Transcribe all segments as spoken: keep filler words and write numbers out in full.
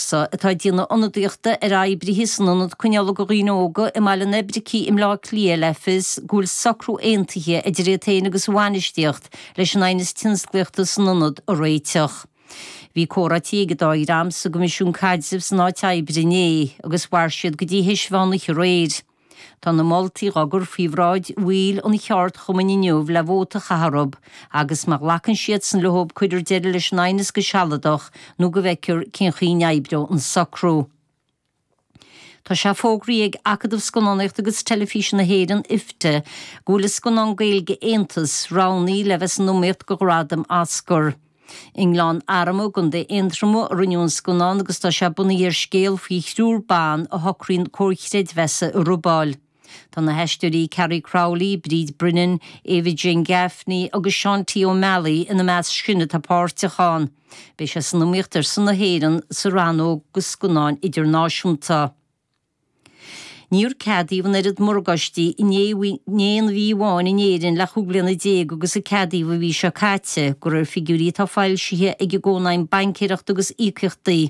Rossa, atá ag déanamh ionadaíochta ar oibrithe san ionad coinneála do dhaoine óga i mBaile an Oibricigh i mBleá Cliath le fios go bhfuil socrú aontaithe idir iad féin agus a bhainistíocht leis an aighneas tionsclaíochta san ionad a réiteach. Bhí comhráití ag an dá dhream sa gCoimisiún Caidrimh san áit oibre inné agus mhair siad go dtí théis mheán oíche aréir. Tá na moltaí á gcur faoi bhráid bhaill an cheardchumainn inniu le vóta a chaitheamh orthu agus má ghlacann siadsan leo cuirfear deireadh leis an aighneas go sealadach nó go bhfeicfear cén chaoi a n-oibreoidh an socrú. Tá sé fógraithe ag Acadamh Scannánaíochta agus Teilifíse na hÉireann, IFTA, go bhfuil a scannán Gaeilge Aontas roghnaithe le bheith san iomaíocht do ghradam Oscar. I nGleann Arma i gContae Aontroma a rinneadh an scannán agus tá sé bunaithe ar scéal faoi thriúr ban a shocraíonn comhar creidmheasa a robáil. Tá na haisteoirí Carrie Crowley, Bríd Brennan, Ava Jane Gaffney agus Sean T. O'Malley ina measc sin atá páirteach ann. Beidh sé san iomaíocht ar son na hÉireann sa rannóg do scannáin idirnáisiúnta. Níor ceadaíodh an oiread morgáistí in aon mhí amháin in Éirinn le chúig bliana déag agus a ceadaíodh an mhí seo caite, de réir figiúirí atá foilsithe ag an gCónaidhm Baincéireachta agus Íocaíochtaí.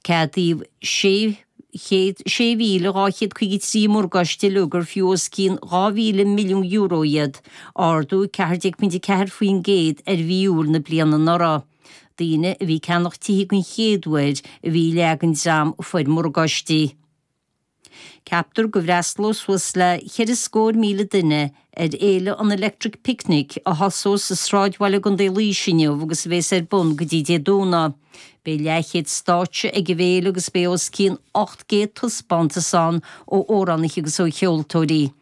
Ceadaíodh sé chéad sé mhíle dhá chéad caoga trí morgáiste uilig ar fiú os cionn dhá mhíle milliún euro iad, ardú ceathair déag pointe ceathair faoin gcéad ar mhí Iúil na bliana anuraidh. Daoine a bhí ag ceannach tithe den chéad uair a bhí i leath den dream a fuair morgáistí. Ceaptar go bhfreastalóidh suas le ceithre scór míle duine ar fhéile an Electric Picnic a thosós sa sráidbhaile i gContae Laoise inniu agus a bheas ar bun go dtí Dé Domhnaigh. Beidh leathchéad stáitse ag an bhféile agus beidh os cionn ocht gcéad taispeántas ann ó amhránaithe agus ó cheoltóirí.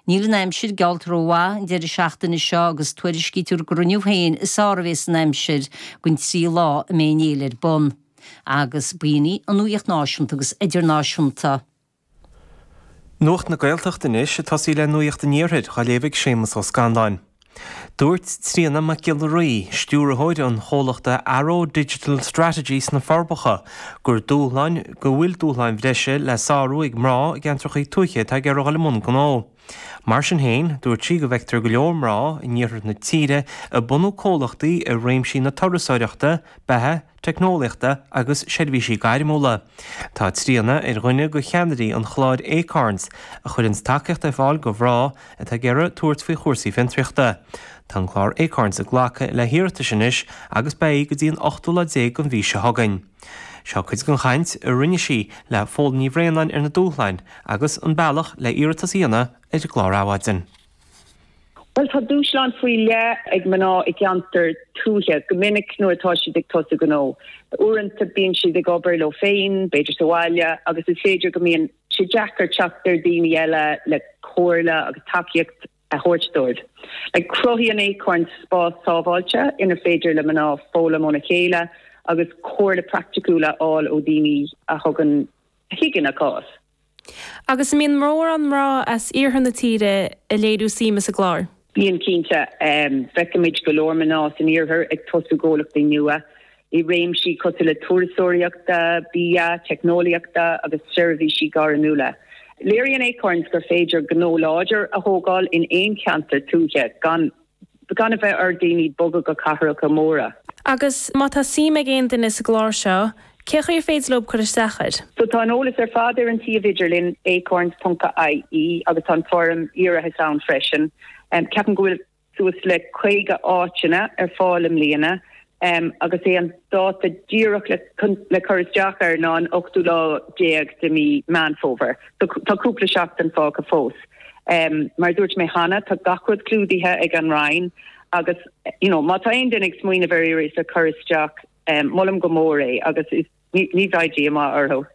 Níl an aimsir geallta rómhaith an deireadh seachtaine seo agus tuairiscítear gur inniu féin is fearr a bheas an aimsir den trí lá a mbeidh an fhéile ar bun. Agus b'in í an nuacht náisiúnta agus idirnáisiúnta. Nuacht na Gaeltachta anois ag tosaí le Nuacht an Iarthair á léamh ag Séamus Ó Scanláin. Dúirt Tríona Mac Giolla Rí, stiúrthóir an chomhlachta Arrow Digital Strategy sna Forbacha, gur dúshláin go bhfuil dúshláin bhreise le sárú ag mná i gceantracha tuaithe atá ag iarraidh dul i mbun gnó. Mar sin féin, dúirt sí go bhfeictear go leor mná in iarthar na tíre ag bunú comhlachtaí i réimsí na turasóireachta, beatha, teicneolaíochta agus seirbhísí gairmiúla. Tá Tríona ar dhuine de cheannairí an chláir Acorns a chuireann tacaíocht ar fáil do mhná atá ag iarraidh tabhairt faoi chúrsaí fiontraíochta. Tá an clár Acorns ag glacadh le hiarratais anois agus beidh go dtí an ochtú lá déag den mhí seo chugainn. Seo cuid den chaint a rinne sí le Fódhla Ní Bhraonáin ar na dúshláin agus an bealach le iarratas a dhéanamh ar an gclár Adhmhaidin. Well tá dúshlán faoi leith ag mná i gceantar tuaithe go minic nuair atá siad ag tosú gnó. Uaireanta bíonn siad ag obair leo féin, b'fhéidir sa bhaile, agus is féidir go mbíonn sé deacair teacht ar daoine eile le comhairle agus tacaíocht a thabhairt dóibh. Like cruthaíonn Acorn spás sábháilte inar féidir le mná foghlaim óna chéile agus comhairle praiticiúil a fháil ó daoine a thugann a thuigeann a cás. Agus an mbíonn mórán mná as iarthar na tíre ag léiriú suime sa gclár. Bíonn cinnte um, feicimid go leor mná san iarthar ag tosú gnólachtaí nua i réimsí cosúil le turasóireachta, bia, teicneolaíochta agus seirbhísí gairmiúla. Léiríonn Acorns gur féidir gnó láidir a thógáil in aon cheantar tuaithe gan gan a bheith ar daoine bogadh go cathracha móra. Agus má tá suim ag aon duine sa gclár seo, cén chaoi ar féidir leo cur isteach air? So tá an eolas ar fad ar an suíomh idirlín acorns.ie agus tá an foirm iarratais ann freisin. Um, Ceapaim go bhfuil suas le caoga áiteanna ar fáil i mbliana um, agus é an dáta díreach le, le cur isteach air ná an ochtú lá déag de mí Meán Fómhair. So, tá cúpla seachtain fágtha fós. Um, mar dúirt mé cheana tá gach rud clúdaithe ag an Roinn agus you know, má tá aon duine ag smaoineamh ar iarratas a chur isteach um, molaim go mór é agus is, ní, ní bheidh díomá orthu.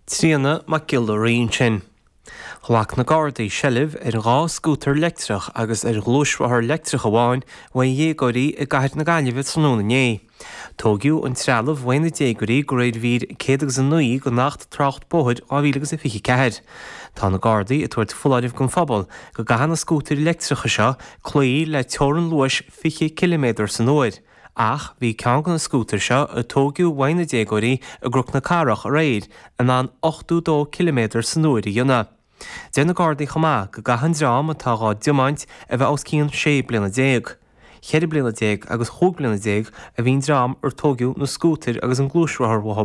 Tríona Mac Giolla Rí ansin. Ghlac na Gardaí seilbh ar dhá scútar leictreach agus ar ghluaisrothar leictreach amháin uaidh dhéagóirí i gcathair na Gaillimhe tráthnóna inné. Tógadh an trealamh uaidh na déagóirí de réir mhír céad agus a naoi den Acht Trácht Bóthair dhá mhíle agus a fiche ceathair. Tá na Gardaí ag tabhairt foláireamh don phobal go gcaithfidh na scútair leictreacha seo cloí le teorainn luais fiche ciliméadar san uair. Ach bhí ceann de na scútair seo a tógadh uaidh na déagóirí i gCnoc na Cathrach aréir in ann ochtó dó ciliméadar san uair a dhéanamh. Deir na Gardaí chomh maith go gcaithfidh an dream atá á dtiomáint a bheith os cionn sé bliana déag. Ceithre bliana déag agus chúig bliana déag a bhí an dream ar tógadh na scútair agus an gluaisrothar uathu